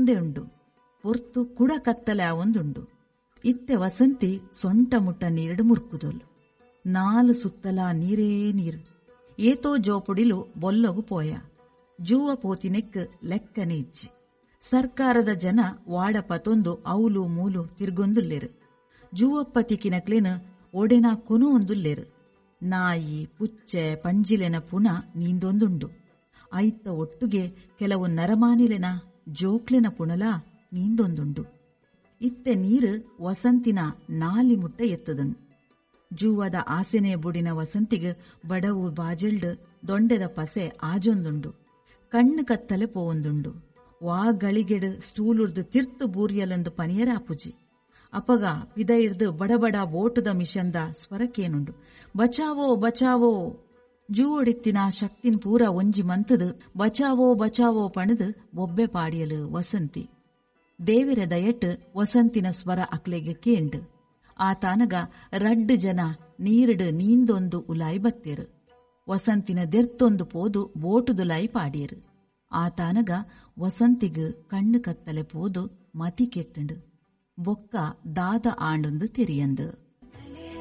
ಬರೊಂದೇ ಉಂಡು. ಪೊರ್ತು ಕುಡ ಕತ್ತಲೆ ಆವೊಂದುಂಡು. ಇತ್ತೆ ವಸಂತಿ ಸೊಂಟ ಮುಟ್ಟ ನೀರ್ಡ್ ಮುರ್ಕುದೊಲು. ನಾಲ್ ಸುತ್ತಲಾ ನೀರೇ ನೀರ್. ಏತೋ ಜೋಪುಡಿಲು ಬೊಲ್ಲೊಗು ಪೋಯ. ಜೂವ ಪೋತಿನೆಕ್ ಲೆಕ್ಕನೆ ಇಜ್ಜಿ. ಸರ್ಕಾರದ ಜನ ವಾಡ ಪತೊಂದು ಅವ್ಲು ಮೂಲು ತಿರ್ಗೊಂದುಲ್ಲೆರ್. ಜೂವಪ್ಪ ತಿಕಿನಕ್ಲೆನ್ ಓಡೆನಾ ಕೊನೊವೊಂದುಲ್ಲೆರ್. ನಾಯಿ, ಪುಚ್ಚೆ, ಪಂಜಿಲೆನ ಪುನ ನೀಂದೊಂದುಂಡು. ಅಯಿತ್ತ ಒಟ್ಟುಗೆ ಕೆಲವು ನರಮಾನಿಲೆನ, ಜೋಕ್ಲೆನ ಪುಣಲಾ ನೀಂದೊಂದುಂಡು. ಇತ್ತೆ ನೀರ್ ವಸಂತಿನ ನಾಲಿ ಮುಟ್ಟ ಎತ್ತುದುಂಡು. ಜೂವದ ಆಸೆನೆ ಬುಡಿನ ವಸಂತಿಗ್ ಬಡವು ಬಾಜೆಲ್ಡ್ ದೊಂಡೆದ ಪಸೆ ಆಜೊಂದುಂಡು. ಕಣ್ಣ್ ಕತ್ತಲೆ ಪೋವೊಂದುಂಡು. ವಾ ಗಳಿಗೆಡ್ ಸ್ಟೂಲುರ್ದು ತಿರ್ತ್ ಬೂರ್ಯಲೆಂದ್ ಪನಿಯೆರೆ ಆಪುಜಿ. ಅಪಗ ಪಿದಯಿರ್ದ್ ಬಡಬಡ ಬೋಟುದ ಮಿಷನ್ದ ಸ್ವರ ಕೇನುಂಡು. ಬಚಾವೋ ಬಚಾವೋ. ಜೂವೊಡಿತ್ತಿನ ಶಕ್ತಿನ್ ಪೂರ ಒಂಜಿ ಮಂತ್ದ್ ಬಚಾವೋ ಬಚಾವೋ ಪಂಡ್ದ್ ಬೊಬ್ಬೆ ಪಾಡಿಯಲ್ ವಸಂತಿ. ದೇವೆರೆ ದಯೆಟ್ ವಸಂತಿನ ಸ್ವರ ಅಕ್ಲೆಗ್ ಕೇಂಡ್. ಆತಾನಗ ರಡ್ಡ್ ಜನ ನೀರ್ಡ್ ನೀಂದೊಂದು ಉಲಾಯಿ ಬತ್ತೆರ್. ವಸಂತಿನ ದೆರ್ತೊಂದು ಪೋದು ಬೋಟುದುಲಾಯಿ ಪಾಡ್ಯೆರ್. ಆತಾನಗ ವಸಂತಿಗ್ ಕಣ್ಣ್ ಕತ್ತಲೆ ಪೋದು ಮತಿ ಕೆಟ್ಟ್ಂಡ್. ಬೊಕ್ಕ ದಾದ ಆಂಡ್ಂದ್ ತೆರಿಯಂದ್.